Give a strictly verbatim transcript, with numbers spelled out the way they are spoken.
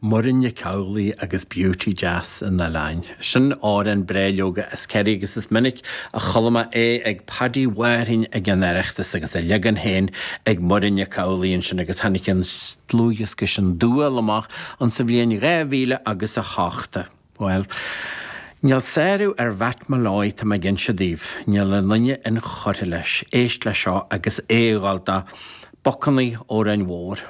Muireann Nic Amhlaoibh agus Beauty Deas an Oileáin. Sin amhrán breá leoga as Kerry agus is minic a chuala mé é ag Paddy Mháirtín ag an Oireachtas agus a leagan féin ag Muireann Nic Amhlaoibh ansin agus tháinig an dlúthdhiosca sin Dual amach an sa bhliain dhá mhíle agus a hocht. Well, Níl sárú ar Mhatt Molloy tá mé ag inse daoibh, níl aon duine inchurtha leis, éist le seo agus é ag gabháil do Bocannaí Óráin Mhór.